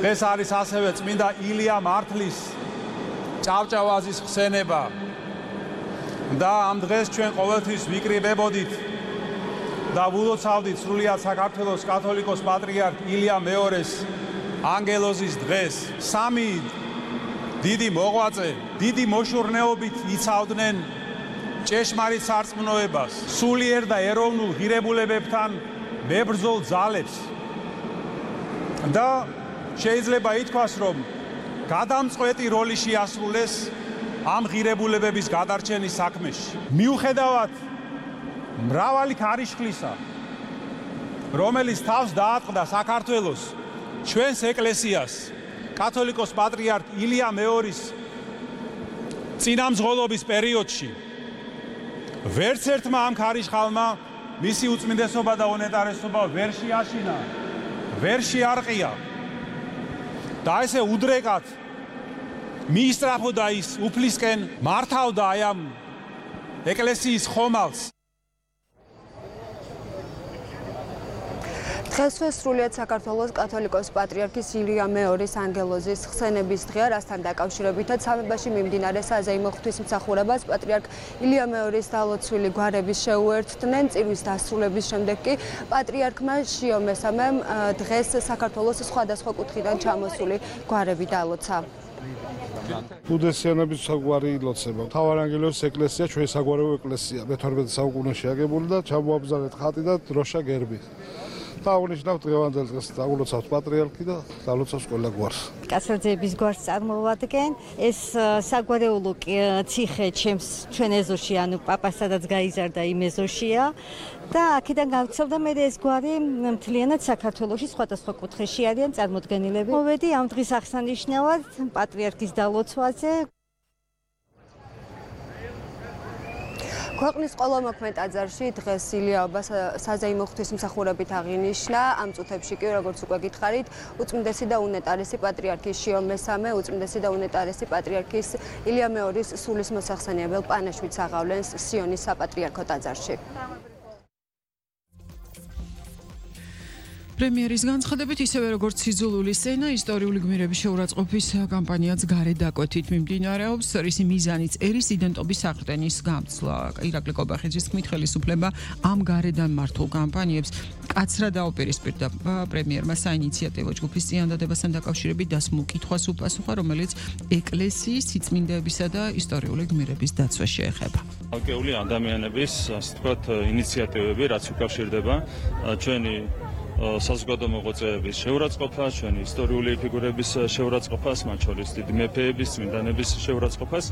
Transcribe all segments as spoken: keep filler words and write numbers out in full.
დღეს არის ასევე წმინდა ილია მართლის ჭავჭავაზის ხსენება და ამ დღეს ჩვენ ყოველთვის ვიკრიბებოდით და ვულოცავდით სრულიად საქართველოს კათოლიკოს პატრიარქ ილია მეორეს ანგელოზის დღეს. სამი დიდი მოღვაწე დიდი მოშურნეობით იცავდნენ ჭეშმარიტ სარწმუნოებას, სულიერ და ეროვნულ ღირებულებებთან მებრძოლ ძალებს და შეიძლება ითქვას, რომ გადამწყვეტი როლი შეასრულეს ამ ღირებულებების გადარჩენის საქმეში. მიუხედავად მრავალი ქარიშხლისა, რომელიც თავს დაატყდა საქართველოს ჩვენს ეკლესიას, კათოლიკოს პატრიარქ ილია მეორის წინამძღოლობის პერიოდში, ვერც ერთმა ამ ქარიშხალმა მისი უწმინდესობა და უნეტარესობა ვერ შეაშინა, ვერ შეარყია და ესე უდრეკად მიისწრაფოდა ის უფლისკენ, მართავდა აი ამ ეკლესიის ხომალდს. დღესვე სრულიად საქართველოს კათოლიკოს პატრიარქის ილია მეორის ანგელოზის ხსენების დღეა, რასთან დაკავშირებითაც სამებაში მიმდინარე საზეიმო ღვთისმსახურებას პატრიარქ ილია მეორის დალოცვილი გვარების შეუერთდნენ. წირვის დასრულების შემდეგ კი პატრიარქმა შიო მესამემ დღეს საქართველოს სხვადასხვა კუთხიდან ჩამოსული გვარები დალოცა. ბუდესიანების საგვარი ილოცება. მთავარანგელოზის ეკლესია ჩვენი საგვარეულო ეკლესია მეთორმეტე საუკუნეში აგებული და ჩამოაბრძანეთ ხატი და დროშა გერბი. დაუნიშნავთ დღევანდელ დღეს დაგულოცავთ პატრიარქი და დალოცავს ყველა გვარს. კაცოძეების გვარს წარმოვადგენ. ეს საგვარეულო ციხე ჩემს ჩვენ ეზოში, ანუ პაპას სადაც გაიზარდა იმ ეზოშია და აქედან გავცელდა მე ეს გვარი მთლიანად საქართველოში სხვადასხვა კუთხეში არიან წარმოდგენილები. მოვედი ამ დღის აღსანიშნავად პატრიარქის დალოცვაზე. ქვეყნის ყველა მოქმედ ტაძარში დღეს ილიაობა საზეიმო ღვთისმსახურებით აღინიშნა. ამ წუთებში კი, როგორც უკვე გითხარით, უწმინდესი და უნეტარესი პატრიარქი შიო მესამე, უწმინდესი და უნეტარესი პატრიარქის ილია მეორის სულისმოსახსენიებელ პანაშვიდს აღავლენს სიონის საპატრიარქო ტაძარში. პრემიერის განცხადებით, ისევე როგორც სიძულული სცენა, ისტორიული გმირების შეურაცხყოფის კამპანიაც გარეთ დაკვეთით მიმდინარეობს. რისი მიზანიც ერის იდენტობის აღრდენის გამცვლა. ირაკლი კობახიძის თქმით, ხელისუფლება ამ გარედან მართულ კამპანიებს კაცრად დაუპირისპირდა პრემიერმა საინიციატივო ჯგუფის წინადადებასთან დაკავშირებით დასმულ კითხვას უპასუხა, რომელიც ეკლესიის სიწმინდეებისა და ისტორიული გმირების დაცვას შეეხება. ალკეული ადამიანების, ასე ვთქვათ, ინიციატივები, რაც უკავშირდება ჩვენი საზოგადო მოღვაწეების შეურაცხყოფას, ჩვენი ისტორიული ფიგურების შეურაცხყოფას, მათ შორის დიდი მეფეების, წმინდანების შეურაცხყოფას,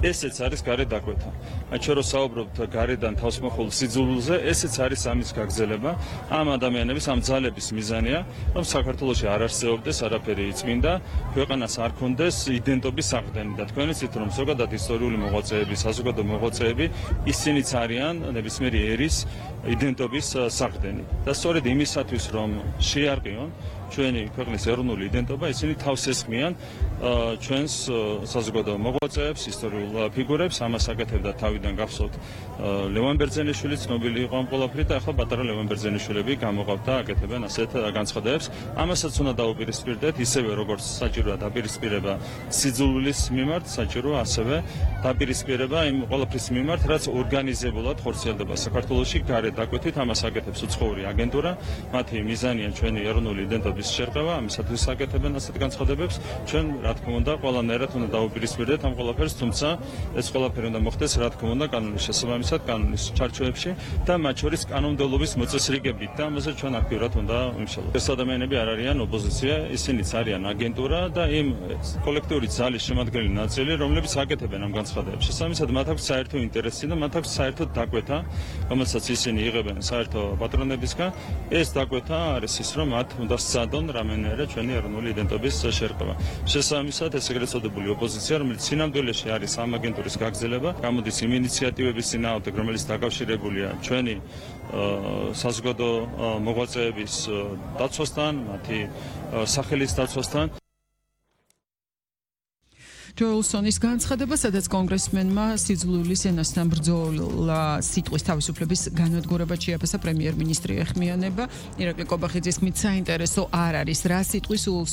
ესეც არის გარეთ დაკვეთა. აი ჩვენ რო საუბრობთ გარედან თავსმოხულ სიძულულზე, ესეც არის ამის გაგრძელება. ამ ადამიანების, ამ ძალების მიზანია, რომ საქართველოში არ არსებობდეს არაფერი წმინდა, ქვეყანას არ ქონდეს იდენტობის აღრდენი და თქვენ იცით, რომ ზოგადად ისტორიული მოღვაწეები, საზოგადო მოღვაწეები, ისინიც არიან ნებისმიერი ერის იდენტობის საყრდენი. და სწორედ იმისათვის, რომ შეარყიონ ჩვენი ქვეყნის ეროვნული იდენტობა, ისინი თავს ესხმიან ჩვენს საზოგადო მოღვაწეებს, ისტორიულ ფიგურებს. ამას აკეთებდა თავიდან გახსოვთ ლევან ბერძენიშვილი, ცნობილი იყო ამ ყველაფრით და ახლა პატარა ლევან ბერძენიშვილები გამოყავთ და აკეთებენ ასეთ განცხადებებს. ამასაც უნდა დაუპირისპირდეთ, ისევე როგორც საჭიროა დაპირისპირება სიძულვილის მიმართ, საჭიროა ასევე დაპირისპირება იმ ყველაფრის მიმართ, რაც ორგანიზებულად ხორციელდება საქართველოში გარეთ დაკვეთით. ამას აკეთებს უცხოური აგენტურა, მათი მიზანია ჩვენი ეროვნული იდენტობის შერყევა, ამისათვის აკეთებენ ასეთ განცხადებებს. ჩვენ რა თქმა უნდა ყველანაირად უნდა დაუპირისპირდეთ ამ ყველაფერს, თუმცა ეს ყველაფერი უნდა მოხდეს რა თქმა უნდა კანონის შესაბამისად, კანონის ჩარჩოებში და მათ შორის კანონმდებლობის მოწესრიგებით და ამაზე ჩვენ აქტიურად უნდა ვიმუშაოთ. ეს ადამიანები არ არიან ოპოზიცია, ისინიც არიან აგენტურა და იმ კოლექტიური ძალის შემადგენელი ნაწილი, რომლებიც აკეთებენ ამ განცხადებებს. შესაბამისად მათ აქვს საერთო ინტერესი და მათ აქვს საერთო დაკვეთა, რომელსაც ისინი იღებენ საერთო პატრონებისგან. ეს დაკვეთა არის ის, რომ მათ უნდა სცადონ რამენერე ჩვენი ეროვნული იდენტობის შერყევა. შესაბამისად, ეს ეგრეთ წოდებული ოპოზიცია, რომელიც სინამდვილეში არის ამ აგენტურის გაგრძელება, გამოდის იმ ინიციატივების წინააღმდეგ, რომელიც დაკავშირებულია ჩვენი საზოგადო მოღვაწეების დაცვასთან, მათი სახელის დაცვასთან. ჯოელსონის განცხადება, სადაც კონგრესმენმა სიძულვილის ენასთან ბრძოლა სიტყვის თავისუფლების განადგურებად შეაფასა პრემიერ-მინისტრი ეხმიანება. ირაკლი კობახიძის თქმით, საინტერესო არ არის რა სიტყვის